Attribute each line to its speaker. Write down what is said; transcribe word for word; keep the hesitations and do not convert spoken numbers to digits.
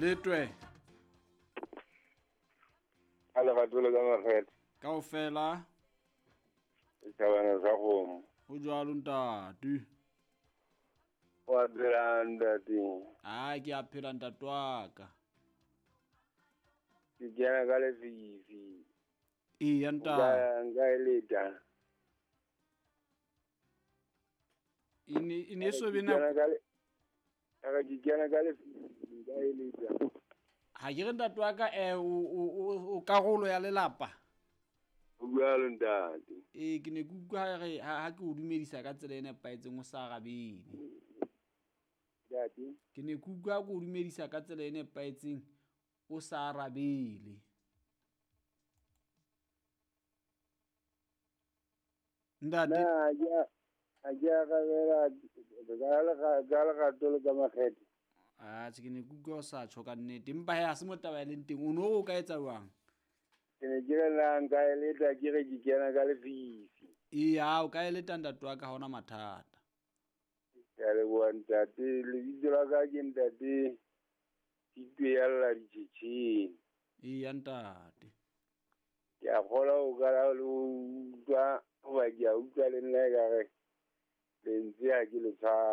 Speaker 1: Letwe.
Speaker 2: A lerato le ka makgethe.
Speaker 1: Kaofela.
Speaker 2: Setjhabana sa kgomo.
Speaker 1: Ho jwalo ntate.
Speaker 2: Wa phela ntate.
Speaker 1: Ah, ke a phela ntate wa ka.
Speaker 2: Ke kena ka lefifi.
Speaker 1: Eya ntate.
Speaker 2: Nka e leta.
Speaker 1: E ne e ne so be nako.
Speaker 2: Ke kena ka lefifi nka e leta.
Speaker 1: Ha ke re ntate wa ka eh o o karolo ya lelapa.
Speaker 2: O jwalo ntate.
Speaker 1: Ee, ke ne ke utlwa re ha ke o dumedisa ka tsela e nepahetseng o sa arabele.
Speaker 2: Ntate.
Speaker 1: Ke ne ke utlwa ke o dumedisa ka tsela e nepahetseng o sa arabele. Ntate.
Speaker 2: Na ke a ke arabela ka lerato le ka makgethe.
Speaker 1: Ah, ke ne ke utlwa o sa tjho ka nnete empa he ha se mo taba e leng teng o no o ka etsa jwang?
Speaker 2: Ke ne ke re na nka e leta ke re ke kena ka lefifi.
Speaker 1: Eya, o ka e leta ntate wa ka ha hona mathata.
Speaker 2: Ke a leboha ntate, lebitso la ka ke ntate Titwe ya lla ditjhetjheng.
Speaker 1: Eya ntate.
Speaker 2: Ke a kgolwa o ka le utlwa hoba ke a utlwa le nna ekare lentswe ha ke le tshware.